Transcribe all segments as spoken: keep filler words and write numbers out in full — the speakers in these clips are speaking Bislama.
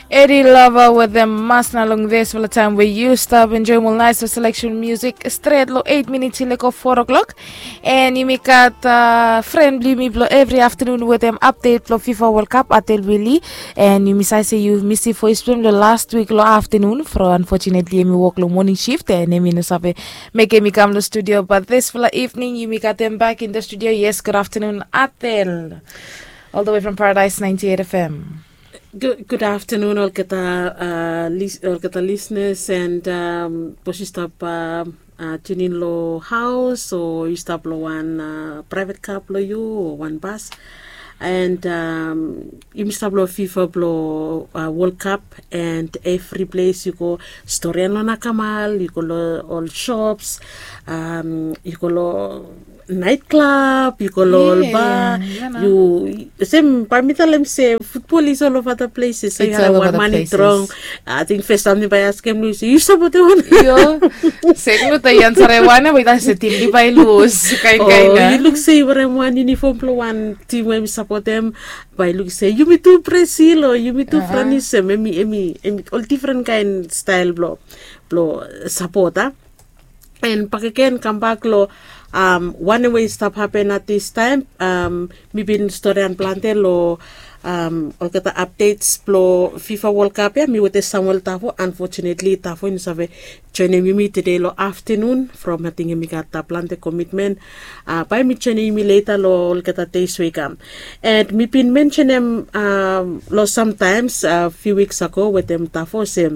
Edi Lava wetem Masna long dispela taim we yu stap enjoim ol nais seleksen musik stret long eit minits i leko four o'clock. En yumi gat fren bilong yumi bilong evri aftanun wetem update bilong fifa World Cup, Atel Willi. En yumi save se yu misim voice bilong em long last wik long aftanun, from unfortunately em i wok long morning shift en em i no save mekim i kam long studio. But dispela evening yumi gat em back in the studio. Yes, good afternoon, Atel, all the way from Paradise ninety-eight F M. Good, good afternoon, olgeta, uh, lis- olgeta listeners, and um, bos yu stap uh, uh, tune in lo house, o yu stap lo wan uh, private car blo yu o wan bus. And um, yumi stap lo fifa blo uh, World Cup, and every place yu go, storian lo nakamal, yu go lo ol shops, um, yu go lo night club, yu go lo ol bar. Yu sem bai mi talem se football is all over the places. So yu harim wan man i strong. I think first time mi bai askem lu se yu sapotem wan. Io. Se lu ta yan sare wan bai ta se tim di bai lus kain kain. Yu luk se yu harim wan uniform blo wan tim we mi sapotem, bai luk se yumi tu Brazil o yumi tu France, em emi emi emi ol different kain style blo blo sapot a. En bakegen kambak lo um, wanem we i stap hapen at this time. Um, mi bin storian plante lo um, olgeta updates blo fifa World Cup ya. Mi wete Samuel Tafo, unfortunately Tafo i no save joinim yumi today lo afternoon from ating em i gat uh, plante commitment. Uh, bai mi joinim yumi later lo olgeta days we i kam. And mi bin mentionem um, lo sometimes uh, few weeks ago wetem Tafo se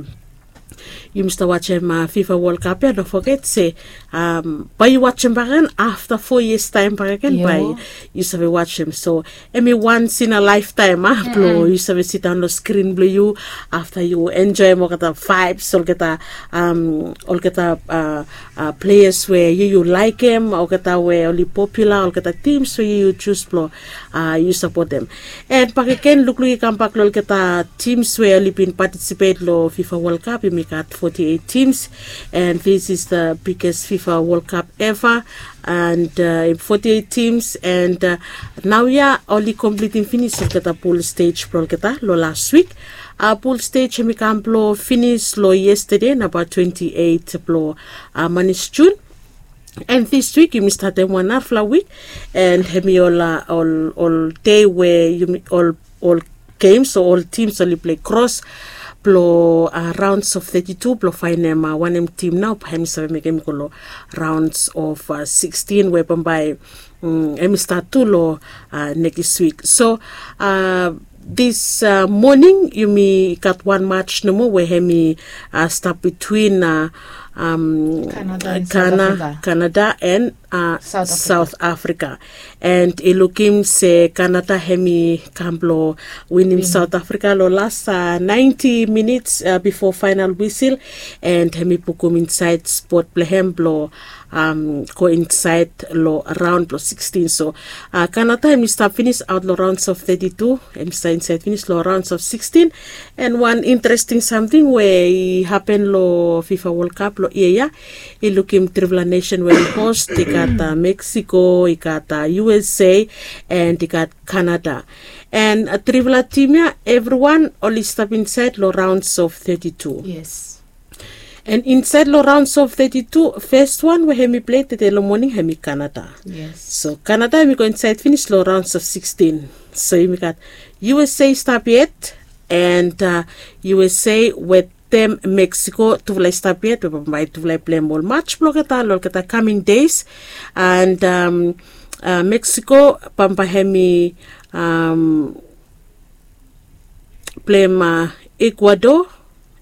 yumi stap wajem uh, fifa World Cup ya, no foget se um, bai yu wajem bakegen afta four years time bakegen bai yu save wajem. So em i once in a lifetime a blo yu save sidaun lo screen blo yu afta yu enjoim olgeta vibes, olgeta um, olgeta uh, uh, players we yu yu laikim, olgeta we oli popular, olgeta teams we yu yu jus blo uh, yu sapotem. And bakegen lukluk i kambak lo olgeta teams we oli bin participate lo fifa World Cup, yumi gat forty-eight teams. And this is the biggest fifa World Cup ever. And uh, forty-eight teams, and uh, nau ya oli completing finis olgeta pool stage blo olgeta lo last week. Uh, pool stage em i kam blo finis lo yesterday, namba twenty-eight blo uh, manis June. And this week yumi statem wan narafala week, and em i ol uh, ol ol day we yumi ol ol games o ol teams oli play cross blo uh, rounds of thirty-two blo fainem uh, wanem team nau bai em i save mekem i go lo rounds of uh, sixteen we bambae um, em i start tu lo uh, next week. So uh, this uh, morning yumi gat wan match nomo we em i uh, start between uh, um, Canada and South Africa. And uh, South Africa. And i lukim se Canada em i kam blo winim South Africa lo last uh, ninety minutes uh, before final whistle. And em i pukum inside spot blo em blo um, go inside lo round blo sixteen. So uh, Canada em i stap finis out lo rounds of thirty-two, em i stap inside finis lo rounds of sixteen. And wan interesting samting we i hapen lo fifa World Cup lo yia ya, i lukim trifala nation we i host, i gat uh, Mexico, i gat uh, U S A, and i gat Canada. And uh, trifala tim ya evriwan oli stap insait long rounds of thirty-two. Yes. And insait long rounds of thirty-two, fes wan we hem i plei tede long moning hem i Canada. Yes. So Canada hem i go insait finis long rounds of sixteen. So yumi gat U S A i stap yet, and uh, U S A wetem Mexico tufala i stap yet, we bambae tufala i pleim ol match blong olgeta long olgeta coming days. And um, uh, Mexico bambae hem i um, pleim uh, Ecuador,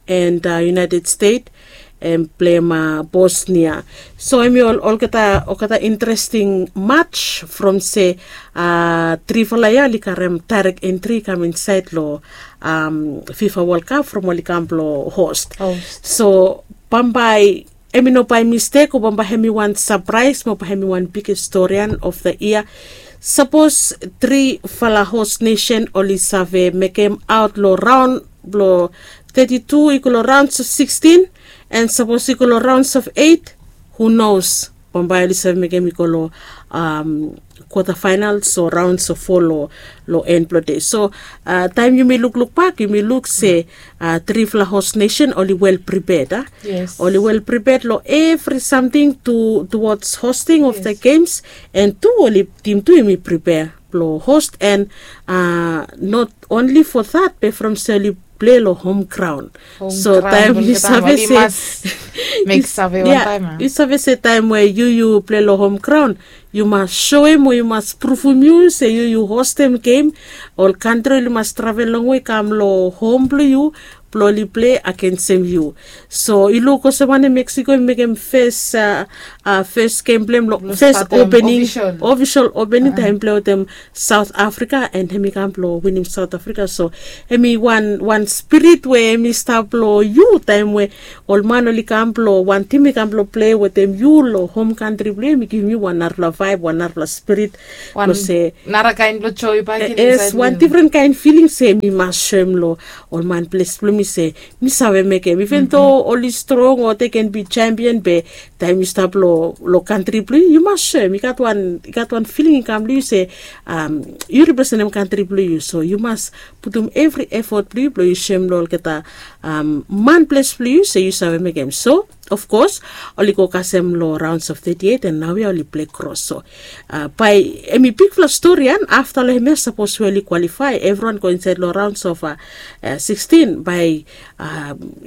and uh, United States, and pleim uh, Bosnia. So hem i ol olgeta olgeta interesting match from se uh, trifala ya oli karem direct entry i kam insait long um, FIFA World Cup from oli kam blong host. Host. So bambae hem i no bae mistek o bambae hem i wan surprise mo bae hem i wan biggest storian of the year. Sapos trifala host nation oli save mekem aot long raon blong thirty-two i go long rounds of sixteen, and sapos i go long rounds of eight, who knows? Bambae oli save mekem i go long kwata fainal so raun so fo long en blong de. So taem yumi lukluk bak yumi luk se trifala host nesen oli wel priped a, oli wel priped long evri samting tuwods hosting of the games. And tu oli tim tu yumi pripea blong host and not onli fo that be from se oli plei long hom graun. So taem yu save se mek save wantaem a yu save se taem we yu yu plei long hom graun, yu mas soem o yu mas pruvum yu se yu yu hostem gem. Ol kantri oli mas travel longwe i kam long hom blong yu blong oli plei agensem yu. So yu luk olsem wanem meksiko i mekem fes fes gem blong hem long fes opening, ofisol opening taem i plei wetem south africa and hem i kam blong winim south africa. So hem i wan wan spirit we hem i stap long yu taem we ol man oli kam blong wan tim i kam blong plei wetem yu long hom kantri blong hem i givim yu wan narafala vaeb wan narafala spirit blong se nara kaen blong joe i baken yes wan difren kaen filing se mi mas soem long ol man ples blong mi se mi save mekem even do oli strong o de ken bi sempion be taem yu stap long kantri blong yu yu mas soem i gat wan filing i kam long yu se yu representem kantri blong yu so yu mas putum evri efot blong yu blong yu soem long olgeta man ples blong yu se yu save mekem so of kos oli go kasem long raons of thirty eight and nao ya oli plei kros so bae hem i bigfala stori an afta long hem ya sapos we oli kwalifae evriwan go insaed long raons of sixteen bae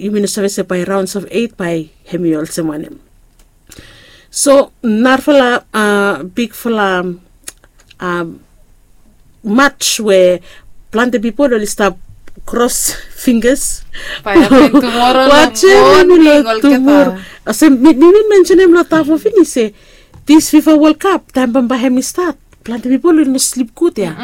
yumi no save se bae raons of eight bae hem i olsem wanem. So narafala bigfala mats we plante pipol oli stap kros fingers. Watsem mi long tumora olsem mi bin mensenem long tafo finis se dis fifa wol kap taem bambae hem i stat plante pipol oli no slip gud ya.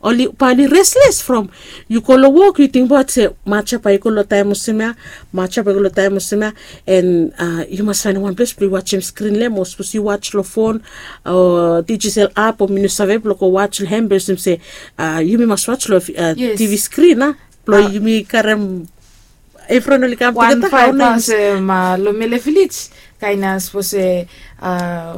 Oli bae oli resles from yu go long wok yu tingbaot se mats ya bae i go long taem olsem ya, mats ya bae i go long taem olsem ya. And yu mas faenem wan ples blong yu watsem skrin long hem o sapos yu wats long fon o dijital ap o mi no save blong go wats long hem be olsem se yumi mas wats long tv skrin a blong yumi karem evriwan oli kam tugeta hao nais. Long mele vilej kaen ya sapos se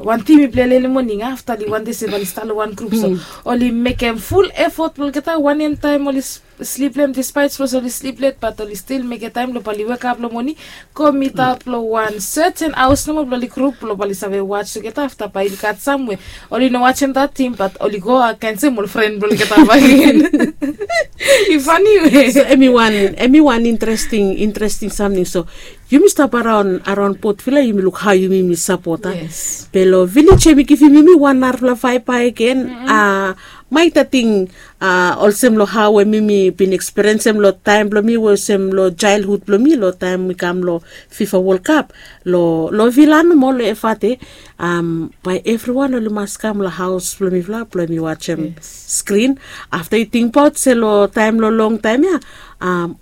wan tim i plei leli moning afta oli wante se bae oli stap long wan grup so oli mekem ful efot blong olgeta wanem taem oli slip long hem dispaet sapos oli slip let bat oli stil mekem taem long bae oli wekap long moning go mitaot long wan seten haos nomo blong oli grup blong bae oli save wats tugeta afta bae oli gat sam we oli no watsem dat tim bat oli go agensem ol fren blong olgeta baken. I fani we so em i wan em i wan interesting interesting samting so yumi stap araon araon potvila yumi luk hao yumi mi sapota. Be long vilej em i givim yumi wan narafala vaebae gen a maita ting a olsem long hao we mi mi bin ekspiriensem long taem blong mi we olsem long jaelhud blong mi long taem mi kam long fifa wol kap long long vila nomo long evate. Bae evriwan oli mas kam long haos blong mifala blong mi wajem skrin afta yu tingbaot se long taem long longtaem ya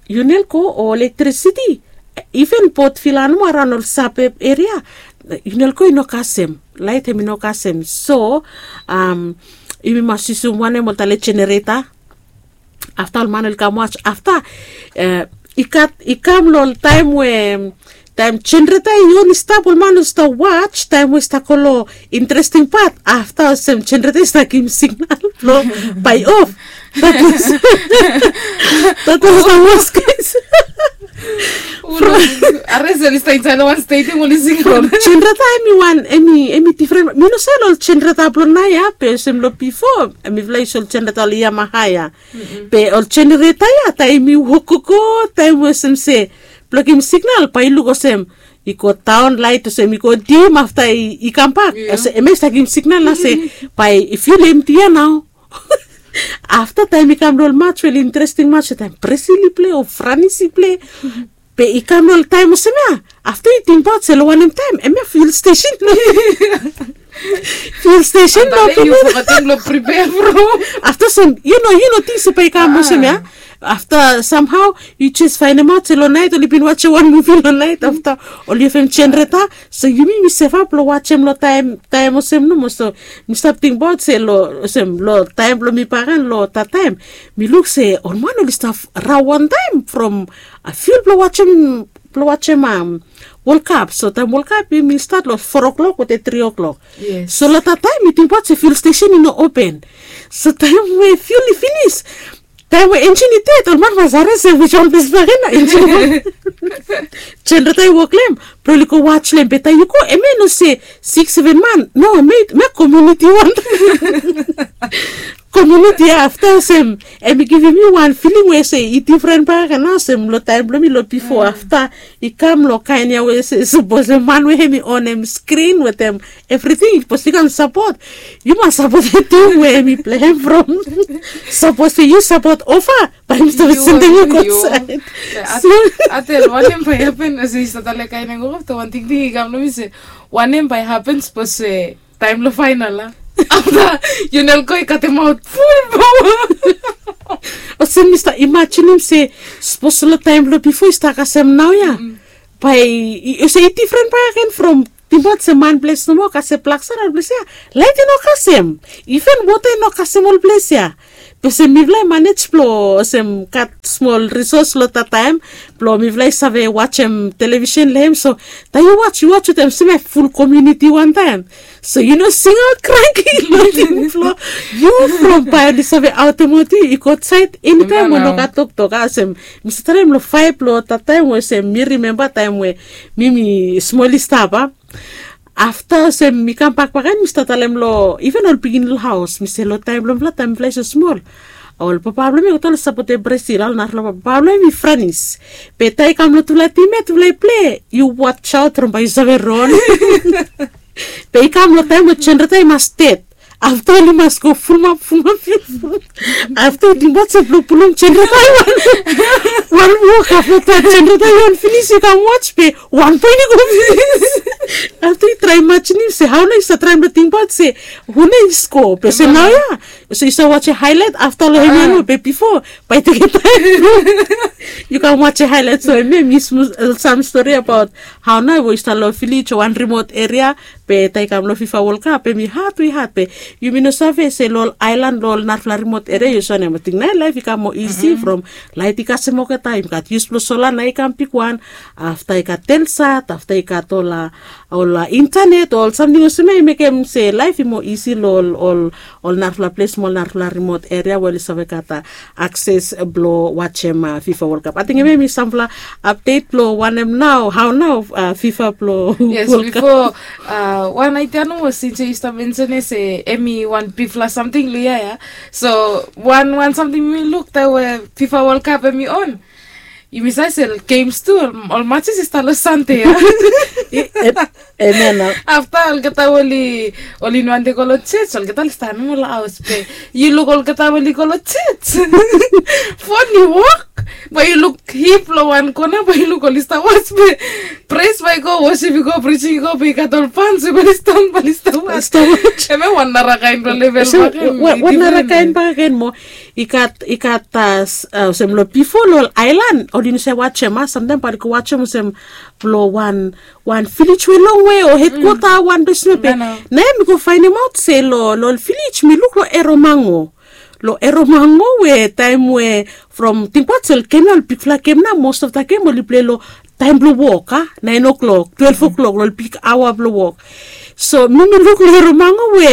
yu nel go o elektrisiti iven bot vila nomo araon ol sabeb eria yu nel go i no kasem laet hem i no kasem so yumi mas yusum wanem ol tale jenereta. Afta ol man oli kam wats afta i gat i kam long ol taem we taem jenereta i oli stap ol man oli stap wats taem we i stap go long interesting pat afta olsem jenereta i stap givim signal blong bae i of. That was the worst case. From Ares oli stap insaed long wan stadium oli sing from jenereta em i wan em i em i difren mi no save long ol jenereta blong naoia be olsem long bifo mifala yu save ol jenereta long yamaha ya. Be ol jenereta ya taem i wok gogo taem olsem se blong givim signal bae i luk olsem i go daon laet olsem i go dim afta i kambak olsem em ya i stap givim signal nao se bae i fiul emti ya nao. Afta taem i kam long ol mats we oli interesting mats we taem brazil i plei o franis i plei be i kam long ol taem olsem ya afta yu tingbaot se long wanem taem em ya fiul stesen. Fiul stesen long pipol afta olsem yu no yu no ting se bae i kam olsem ya afta samhao yu jes faenemaot se long naet oli bin wajem wan muvi long naet afta oli evem jenereta. So yumi mi sevap long wajem long taem taem olsem nomo so mi stap tingbaot se long olsem long taem blong mi bagan long tataem mi luk se ol man oli stap rau wantaem from a fiul blong wajem blong wajem World Cup. So taem World Cup i mi stat long four o'clock wetem three o'clock. Yes. So long that time mi tingbaot se fuel station i no open. So taem we fuel i finis, taem we engine i ded, ol man mas harim se which one ples bakegen na engine i wok. Generator i wok long hem, blo oli go watch long hem. Be taem yu go, hemia i no se six seven man. No, hemia hemia community wan. Community afta olsem, hem i givim mi wan filing we se i difren bakegen na olsem long taem blo mi long bifo. Afta i kam long kaen ya we se sapos hem man we hem i onem screen wetem evriting, sapos yu kam sapot, yu mas sapot hem tu we hem i pleim from. Sapos se yu sapot ova, bae mi stap sendem yu go saed. Atel wanem bae hapen, olsem yu stap talem kaen ya go afta wan tingting i kam long mi se wanem bae hapen sapos se taem long faenal a, afta yu no go i katemaot ful paoa. Olsem mi stap imajinim se sapos long taem blong bifo i stap kasem naoia, bae i olsem i difren bakegen from tingbaot se man ples nomo kasem blak sara ol ples ya. Laet i no kasem, iven wota i no kasem ol ples ya. Be olsem mifala i manej blong olsem gat smol risos long that taem blong mifala i save wajem televisen long hem. So taem yu waj yu waj wetem olsem ful komuniti wantaem. So yu no singaot kranki long tingting blong yu from bae oli save aotemot yu i go saed enitaem we no gat toktok a olsem. Mi save talem long faef blong that taem we olsem mi rimemba taem we mi mi smol i stap a. Afta olsem mi kambak bakegen mi stap talem long iven ol pikinini long haos mi se long taem blong mifala taem mifala i so smol, ol papa blong mi i go tale sapotem Brazil, ol narafala papa blong mi Franis. Be taem i kam long tufala tim ya tufala i ple, yu watch aot from bae yu save ron. Be i kam long taem we jenereta i mas ded. Afta oli mas go fulumap fulumap fulumap. Afta i tingbaot se blong pulum jenereta i wan, wan wok afta jenereta i wan finis i kam wach be wan poen i go finis. Afta i traem imajinim se hao nao i save traem long tingbaot se hu nao i sko be se naoia, so i save wajem haelait afta long hemia nao be bifo bae i tekem taem. Yu kam wajem haelait so hemia mi smul sam stori abaot hao nao we i stap long vilej o wan rimot eria. Be taem i kam long fifa wol kap hemi had we had be yumi no save se long ol aelan long ol narafala rimot eria yu save nem ating nao laef i kam moa isi from laet i kasem olgeta yumi gat yus blong sola nao i kam bigwan. Afta i gat telsat afta i gat ol a ol a intanet ol samting olsem ya i mekem se laef i moa isi long ol ol ol narafala ples mo ol narafala rimot eria we oli save gat a akses blong wajem fifa wol kap ating hemia hemi samfala apdet blong wanem nao hao nao fifa blong wol kap. Bifo wan aidia nomo since yu stap mensen ya se hemi wan bigfala samting long ya ya. So wan wan samting mi luk taem we fifa wol kap hemi on, yumi save se gems tu ol matches i stap long sande ya. Hemia nao afta olgeta we oli oli no wante go long joj olgeta oli stap nomo long haos be yu luk olgeta we oli go long joj. Fon i wok bae yu luk hip long wan kona bae yu luk oli stap was be pres bae i go wosip i go prising i go be i gat ol pans we bae oli stap bae oli stap was. Hemia wan nara kaen blong level bakegen wan nara kaen bakegen mo i gat i gat olsem long bifo long ol aelan oli no save wajem a samtaem bae oli go wajem olsem blong wan wan vilej we longwe o hedkwota wan ples nomo be nao mi go faenemaot se long ol vilej mi luk long eromango long eromango we taem we from tingbaot se ol gem ya ol bigfala gem nao most of da gem oli plei long taem blong wok a naen o'klok twelef o'klok long ol big aoa blong wok. So mi mi luk long eromango we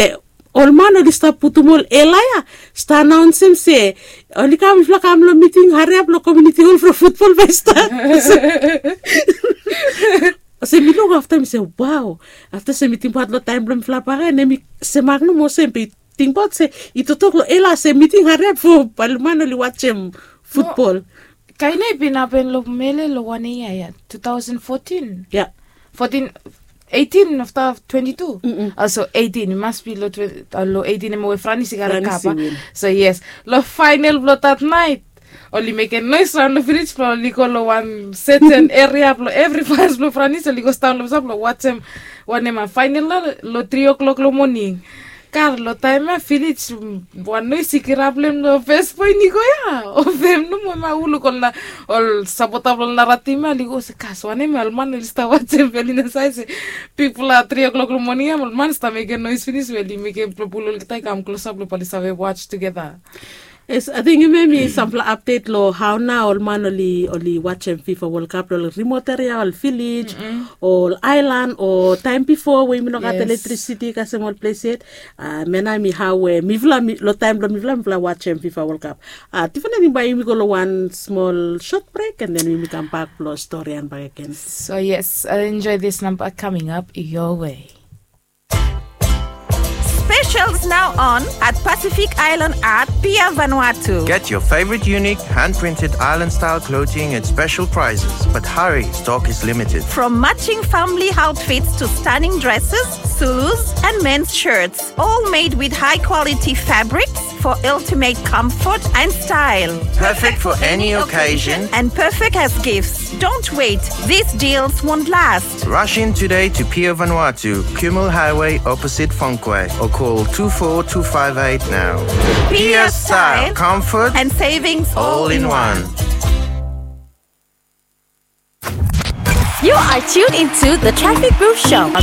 ol man oli stap putum ol ela ya stap anaonsem se oli kam mifala kam long miting hariap long komiuniti hol from futbol bae i stat. Olsem mi luk afta mi se wao afta se mi tingbaot long taem blong mifala bakegen hemi semak nomo olsem be i tingbaot se i toktok long ela se miting hariap fo bae ol man oli wajem futbol. Kaen ya i bin hapen long mele long wan yia ya two thousand fourteen ya fourteen eighteen afta twenty two. Olso eighteen i mas bi long eighteen hemia we franis i gat long kapa. So yes long faenal blong that naet oli mekem noes raon long vilej blong oli go long wan seten eria blong evri fans blong franis oli go staon long masa blong wajem wanem a faenal nao long tri o'klok long moning. Kar long taem ya vilej wan noes i kirap long hem long fes poen i go ya o fem nomo hemia hu luk ol na ol sapota blong ol nara tim ya oli go se kas wanem ya ol man oli stap wajem be oli no save se bigfala tri o'klok long moning ya ol man stap mekem noes finis we oli mekem blong pul olgeta i kam klosap blong bae oli save waj tugeta. Yes, ating yumi mekim sampela apdet long hau nao ol man oli oli wajem fifa wolkap long ol rimot eria, ol vilej, ol ailan, o taim bifo we yumi no gat elektrisiti kasem ol ples yet. Mena mi hau we mifala long taim bilong mifala mifala wajem fifa wolkap. Tifana ting bai yumi go long wan smol sot brek en den yumi kam bak blong storian bak egen. So yes, enjoy this number coming up your way. Specials now on at Pacific Island at Pier Vanuatu. Get your favorite unique hand-printed island-style clothing at special prices. But hurry, stock is limited. From matching family outfits to stunning dresses, Zulus, and men's shirts, all made with high-quality fabrics for ultimate comfort and style. Perfect for any occasion and perfect as gifts. Don't wait, these deals won't last. Rush in today to Pier Vanuatu, Kumul Highway, opposite Fongkwe, or call two four two five eight now. Pier style, comfort, and savings all in one. You are tuned into the Traffic Booth Show on